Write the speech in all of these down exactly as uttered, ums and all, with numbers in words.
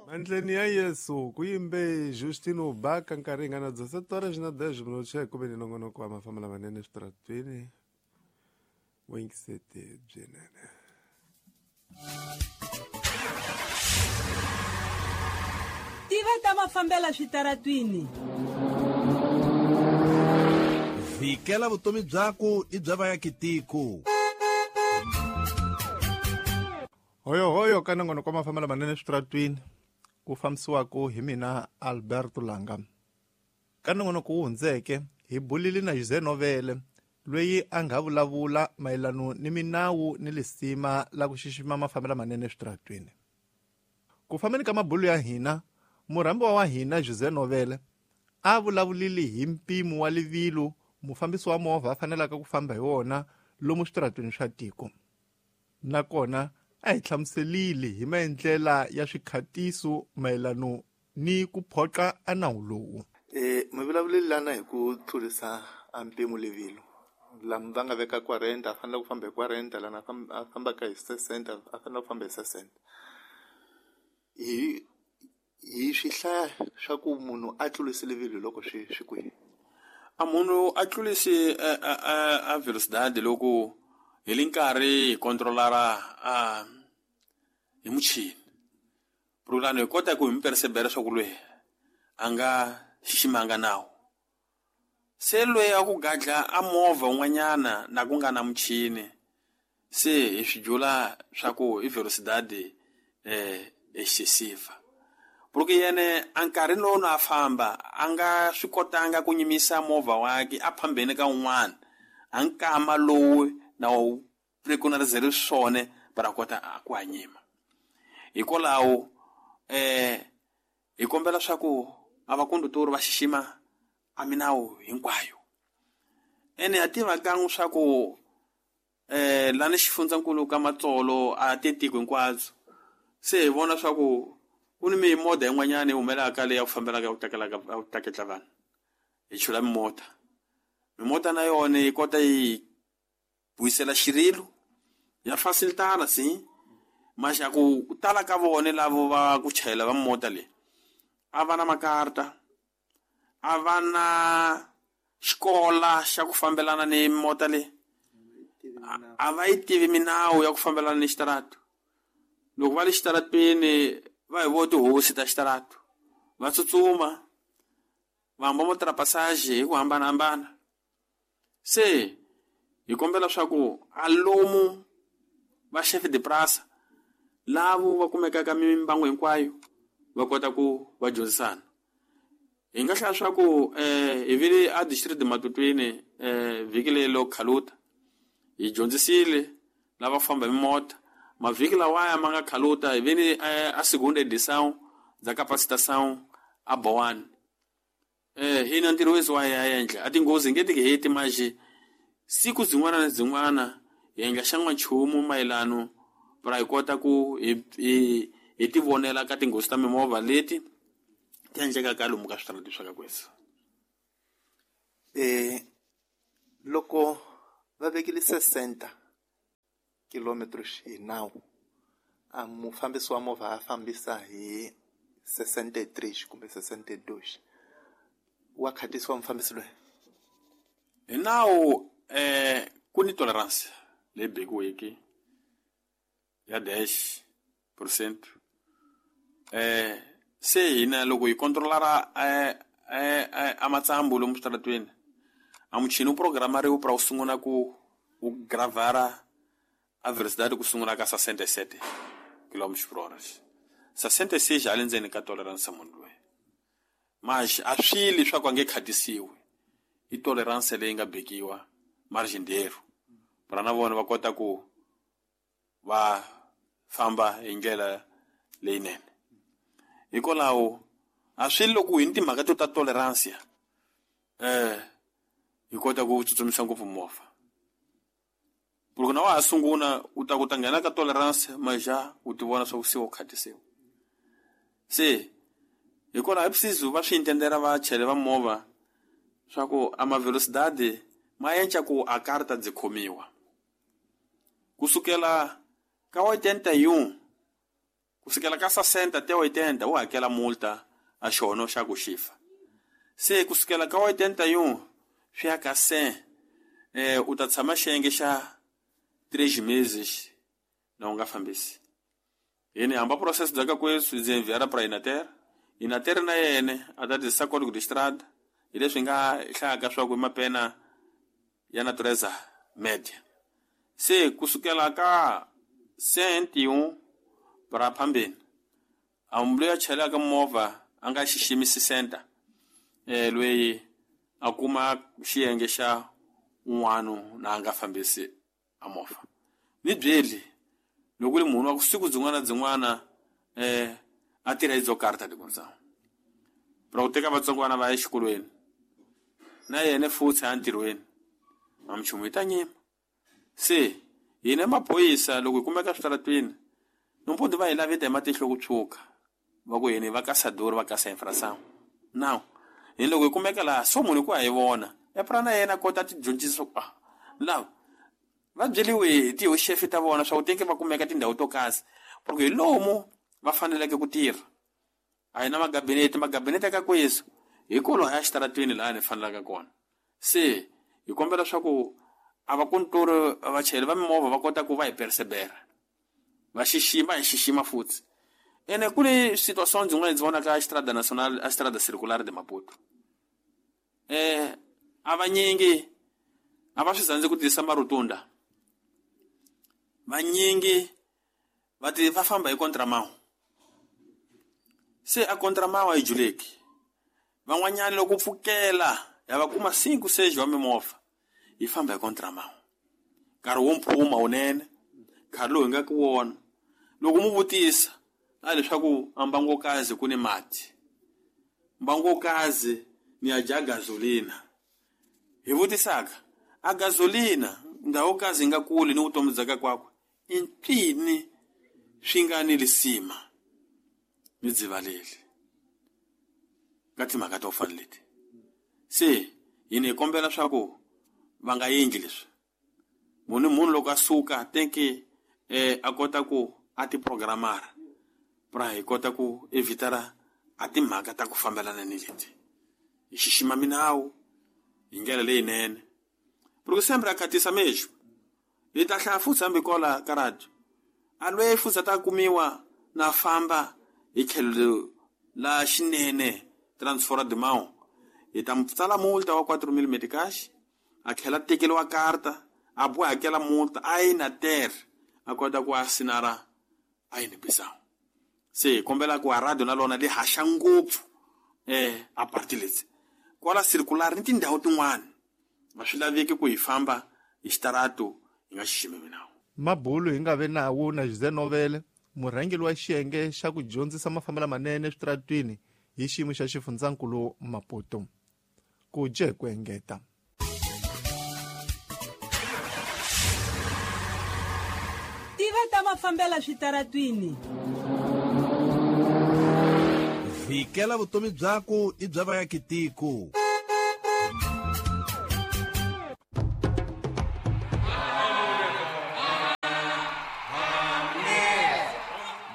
Mandleni ya Yesu ku yimbe Justino Baka nkarhi hi nga na dezesete horas na dez minutos ya ku ve ni nongonoko wa mafamba lamanene eswitarateni vuyingiseti byinene. Tiva ta mafambela switaratwini. Vikela vutomi byaku i bya vayakitiko. Hoyo hoyo ka nongonoko wa mafamba lamanene eswitaratwini ku fambisiwaka hi mina Alberto Langa. Ka nongonoko wu hundzeke hi bulile na José Novele loyi a nga vulavula mayelano ni minawu ni lisima la ku xixima mafambelo lamanene eswitaratwini. Ku fambeni ka mabulu ya hina, murhambiwa wa hina José Novele a vulavulile hi mpimo wa livilo mufambisi wa movha a fanelaka ku famba hi wona lomu switaratwini swa tiko. Nakona a hi hlamuselile hi maendlela ya swikhatiso mayelano ni ku phoqa a nawu lowu. Eh mi vulavulile lana hi ku tlurisa a mpimo livilo. Lama va nga veka quarenta a fanele ku famba hi quarenta, lana a fambaka hi sesenta a fanele ku famba hi sesenta. Hi hi swi hlaya swa ku munhu a tlurise livilo loko swi swi kwihi? A munhu a tlurisi a a velocidade loko hi le nkarhi hi controlara a hi muchini. Pulani hi kota ku hi mi percebera swa ku loyi a nga xiximanga nawu. Se loyi a ku gadla a movha un'wanyana na ku nga na muchini, se hi swi jula swa ku i velocidade eh excessiva. Porque yene a nkarhi lowu na a famba a nga swi kotanga ku nyimisa movha wakhe a phambeni ka un'wana, a nkama lowu na wu preconizele swona para kota a ku hanyima. Hikwalaho eh hi kombela swa ku a vakondutori va xixima a minawu hinkwayo. Ene ha tiva kan'we swa ku eh lani xifundzankulu ka Matsolo a te tiko hinkwabyo. Se hi vona swa ku ku ni mimodha yin'wanyana yi humelaka leyi ya ku fambelaka ya ku takelaka ya ku taketla vanhu. Hi chula mimota. Mimota na yona yi kota yi vuyisela xirilo ya facilitana si maxa ku tala ka vona lavo va ku chayela va mota leyi a va na makarta, a va na xikola xa ku fambelana ni mota leyi, a va yi tivi minawu ya ku fambelana ni xitaratu. Loko va le xitaratwini va hi vo tihosi ta xitaratu, va tsutsuma va hamba mo trapassage hi ku hambanahambana. Se hi kombela swa ku a lomu va chef de prasa lavo va kumekaka mimbangu hinkwayo va kota ku va dyondzisana. Hi nga hlaya swa ku eh hi vile a district Matutwini eh vhiki leyi lo khaluta hi dyondzisile lava famba hi mota. Mavhiki lawaya ma nga khaluta hi vile a segunda edição da capacitação a Boane. Eh hina ntirho wethu wa ya endla a tinghozi nge ti heti manje siku zin'wana na zin'wana hi endla xan'wanchumu mayelano para hi kota ku hi hi hi ti vonela ka tinghozi ta mimovha leti ti endlekaka lomu ka switarati swa ka kwethu. Eh loko va vekile sesenta kilometros hi nawu, a mufambisi wa movha a fambisa hi sessenta e três kumbe sessenta e dois, wa khatisiwa mufambisi loyi? Hi nawu eh ku ni tolerance leyi bekiweke ya dez por cento. Eh se hina loko hi controlara eh eh a matsambu lomu switaratweni, a muchini wu programariwe para wu sungula ku wu gravara a velocidade ku sungula ka sessenta e sete quilômetros por hora. sessenta e seis a le ndzeni ka tolerance munhu loyi. Mas a swili swa ku a nge khatisiwi. I tolerance leyi nga bekiwa margin dero. Para na vona va kota ku va famba hi ndlela leyinene. Hikwalaho a swi loko hi ni timhaka to ta tolerance eh hi kota ku tsutsumisa ngopfu movha. Loko na wa ha sungula u ta ku ta nghena ka tolerance maja u ti vona swa ku se u khatisiwa. Se hikwalaho hi preciso va swi intendera va chayela va movha swa ku a ma velocidade ma enca ku a karta byi khomiwa. Kusukela ka oitenta e um Kusukela ka sessenta até oitenta u hakela multa a xono xa ku xifa. Se kusukela ka oitenta e um swi ya ka cem, eh, u ta tshama xiyenge xa três meses na u nga fambisi. Yini hamba processo bya ka kwesu ndzi enviara pra Inater. Inater na yene a ta tirhisa código de estrada hi leswi nga hlayaka swa ku i mapena ya natureza média. Se kusukela ka cento e um para phambeni a munhu loyi a chelaka movha a nga xiximi sessenta, eh loyi a kuma xiyenge xa un'wana na a nga fambisi a movha. Ni byeli loko ri munhu wa ku siku byin'wana byin'wana eh a tirha hi byo karta de condição para ku teka vatsongwana va ya exikolweni na yena futhi a ntirhweni a minchumu yi ta nyima. Se hina maphorisa loko hi kumeka switaratwini nompondo va hi laveta hi matihlo ku tshuka va ku hina va caçador va caça infração. Now hi loko hi kumeka laha so munhu ku a hi vona e pra na yena kota ti dyondzisa ku ah lava va byeliwe hi tihoxefe ta vona swa ku teke va kumeka tindhawu to kasi porque hi lomu va faneleke ku tirha. A hi na magabinete magabinete ka kwesu hi kolo ya xitaratwini laha ni fanelaka kona. Se hi kombela swa ku a va kontoro vachayeri va mimovha va kota ku va hi percebera va xixima hi xixima futhi. Ene ku ni situação byin'wana ndzi vonaka a Estrada Nacional a Estrada Circular de Maputo. Eh a vanyingi a va swi zandzi ku tirhisa marutunda. Vanyingi va ti va famba hi contramão. Se a contramão a yi juleki. Van'wanyana loko pfukela ya va kuma cinco seis wa mimovha yi famba hi contramão. Nkarhi wo mphuma wunene nkarhi lowu hi nga ku wona loko mu vutisa a leswaku a mbangokazi ku ni mati mbangokazi ni ya dya gasolina. Hi vutisaka a gasolina ndhawu kazi yi nga kuli ni vutomi bya ka kwakwe i mpfini swi nga ni lisima ni dzivaleli ka timhaka to fana leti. Se hina hi kombela swa ku va nga endli leswi. Munhu munhu loko a suka teke eh a kota ku a ti programara pra hi kota ku evitara a timhaka ta ku fambelana ni leti. Hi xixima minawu hi ndlela leyinene. Porque sempre a khatisa mesmo. Hi ta hlaya futhi hambi kola ka radio. A loyi futhi a ta kumiwa na famba hi tlhelo la xinene transfora de mão. Hi ta tsala multa wa quatro mil meticais, a tlhela tekeriwa karta, a boha hakela multa a yi na ter a kota ku asinara a yi ni. Se kombela ku a radio na lona li haxa ngopfu eh a parti leti. Kwala circular ni tindhawu tin'wana a swi laveki ku hi famba hi xitarato hi nga xiximi minawu. Mabulu hi nga ve nawu na José Novele murhangeri wa xiyenge xa ku dyondzisa mafambelo manene eswitaratwini hi xiyimo xa xifundzankulu Maputo. Ku dye ku engeta. Tiva ta mafambela switaratwini. Vikela vutomi byaku i bya vaakitiko.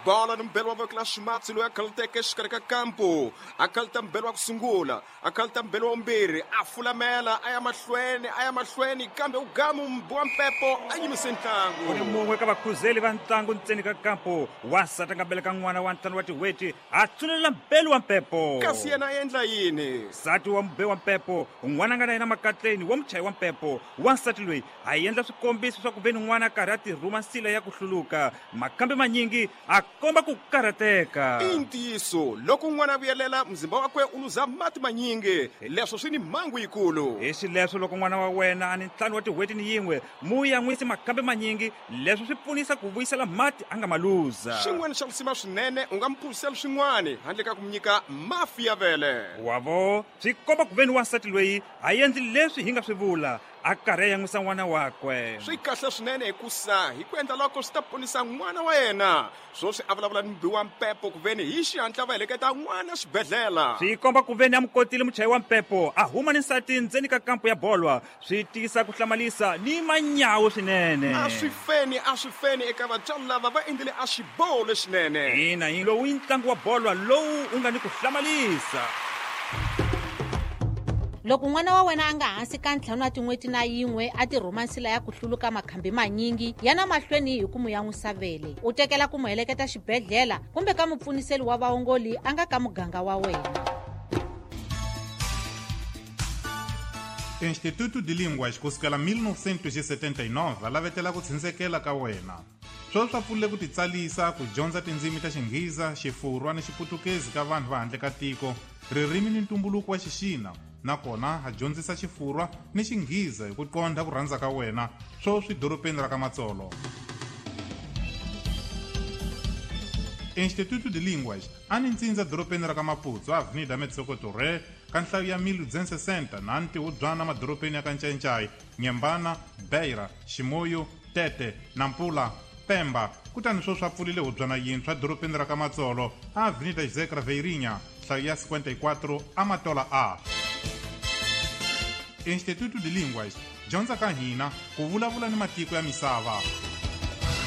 Bola no mbelo wa vokla Matsi loyi a khaluteke exikarhi ka kampo a khaluta mbelo wa ku sungula a khaluta mbelo wa vumbirhi a fulamela a ya mahlweni a ya mahlweni kambe u gamu mbu wa mpepo a yimise ntlangu. Ku ni mun'we ka vakhuzeli va ntlangu ntseni ka kampo wansati a nga beleka n'wana wa ntlhanu wa tin'hweti a tsunelela mbelo wa mpepo. Kasi yena a endla yini? Nsati wa mube wa mpepo n'wana nga na yena makatleni wa muchayi wa mpepo wansati loyi a endla swikombiso swa ku ve ni n'wana a karhi a tirhuma nsila ya ku hluluka makambe manyingi a komba ku karhateka. I ntiyiso loko n'wana a vuyelela mzimba wakwe u luza mati manyingi leswo swi ni mhangu yikulu. Hi xileswo loko n'wana wa wena a ni ntlhanu wa tin'hweti ni yin'we mu yan'wisi makambe manyingi leswo swi pfunisa ku vuyisela mati a nga ma luza. Xin'wana xa lisima swinene u nga mi phuzisela swin'wana handle ka ku mi nyika mafi ya vele. Wavo swi komba ku ve ni wansati loyi a endli leswi hi nga swi vula a a karhi a yan'wisa n'wana wakwe. Swi kahle swinene hikusa hi ku endla loko swi ta ponisa n'wana wa yena. Swoswi a vulavula ni mubi wa mpepo ku veni hi xihatla va heleketa n'wana xibedhlele. Swi komba ku veni a mukotile muchayi wa mpepo a huma ni nsati ndzeni ka kampo ya bolwa. Swi tisa ku hlamalisa ni manyawu swinene. A swi feni a swi feni eka vatswari lava va endlile a xiboho lexinene. Ina hi lowu i ntlangu wa bolwa lowu u nga ni ku hlamalisa. Loko n'wana wa wena a nga hansi ka ntlhanu wa tin'hweti na yin'we a tirhuma nsila ya ku hluluka makhambi manyingi ya na mahlweni hi ku mu yan'wisa vele, u tekela ku mu heleketa xibedhlele kumbe ka mupfuniseli wa vaongoli a nga ka muganga wa wena. Instituto de Línguas kusukela mil novecentos e setenta e nove a lavetela ku tshunxekela ka wena. Sweswi swa pfulile ku titsalisa ku dyondza tindzimi ta Xinghiza, Xifurwa ni Xiputukezi ka vanhu va handle ka tiko, ririmi ni ntumbuluko wa Xixina, nakona a dyondzisa Xifurwa ni Xinghiza hi ku qondha ku rhandza ka wena, sweswi dorobeni ra ka Matsolo. Instituto de Línguas a ni ntsindza dorobeni ra ka Maputo, Avenida Metsoko Torre, ka nhlayo ya mil duzentos e sessenta na ntihubyana madorobeni ya ka Ncayincai, Nyembana, Beira, Ximoyo, Tete, Nampula, Pemba. Kutani sweswi a pfulile hubyana yintshwa dorobeni ra ka Matsolo, Avenida José Craveirinha, nhlayo ya cinquenta e quatro, Amatola A. Instituto de Línguas, dyondza ka hina ku vulavula ni matiko ya misava.